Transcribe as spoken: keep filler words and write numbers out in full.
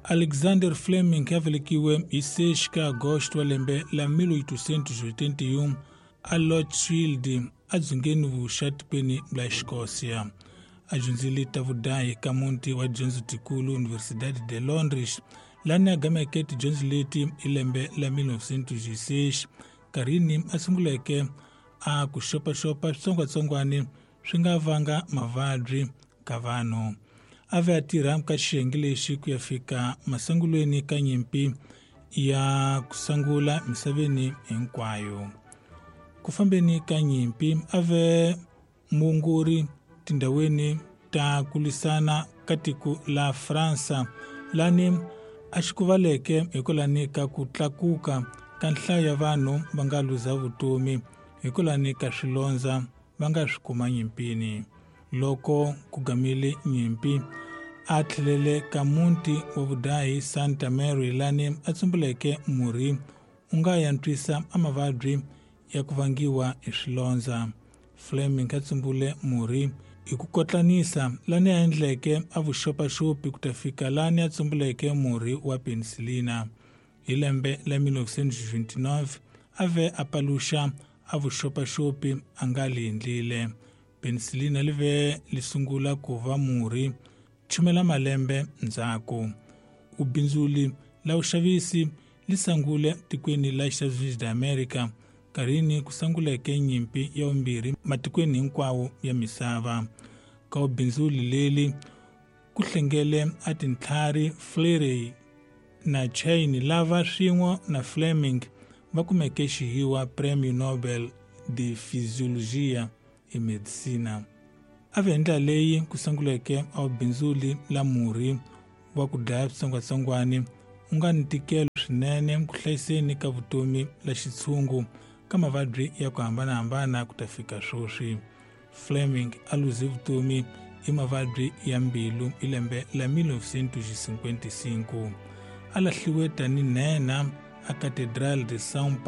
Alexander Fleming a velekiwe hi seis ka agosto wa lembe la mil oitocentos e oitenta e um a Lochfield edzongeni vuxa tikweni la Escócia. A dyondzile ta vudahi ka muti wa dyondzo tikulu Universidade de Londres, lani a gameke tidyondzo leti hi lembe la mil novecentos e seis, nkarhini a sunguleke a ku xopaxopa switsongwatsongwani swi nga vanga mavabyi ka vanhu. A ve a tirha ka xiyenge lexi ku ya fika masungulweni ka nyimpi ya ku sungula misaveni hinkwayo. Ku fambeni ka nyimpi a ve muongori tindhawini ta ku lwisana ka tiko la Fransa, lani a xi kuvaleke hikwalani ka ku tlakuka ka nhlayo ya vanhu va nga luza vutomi hikwalani ka swilondza va nga swi kuma nyimpini. Loko ku gamile nyimpi a tlhelele ka muti wa vudahi Santa Mary, lani a tsumbuleke murhi wu nga yantswisa a mavabyi ya ku vangiwa hi swilondza. Fleming a tsumbule murhi hi ku kotlanisa lani a endleke a vuxopaxopi ku ta fika lani a tsumbuleke murhi wa penisilina. Hi lembe la mil novecentos e vinte e nove a ve a paluxa a vuxopaxopi a nga li endlile. Penisilina li ve li sungula ku va murhi chumela malembe ndzhaku. Ubindzuli la vuxavisi li sungule tikweni la Estados Unidos da America nkarhini ku sunguleke nyimpi ya vumbirhi matikweni hinkwawo ya misava. Ka ubindzuli leli ku hlengele a tintlhari Fleury na Chain lava swin'we na Fleming va kumeke xihiwa Premio Nobel de Fisiologia e Medicina. A ve hi ndlela leyi ku sunguleke a ubindzuli la murhi wa ku dlaya switsongwatsongwani wu nga ni ntikelo swinene ku hlayiseni ka vutomi la xitshungu ka mavabyi ya ku hambanahambana ku ta fika sweswi. Fleming a luze vutomi hi mavabyi ya mbilu hi lembe la mil novecentos e cinquenta e cinco. A lahliwe tani nhenha a Catedral de São Paulo.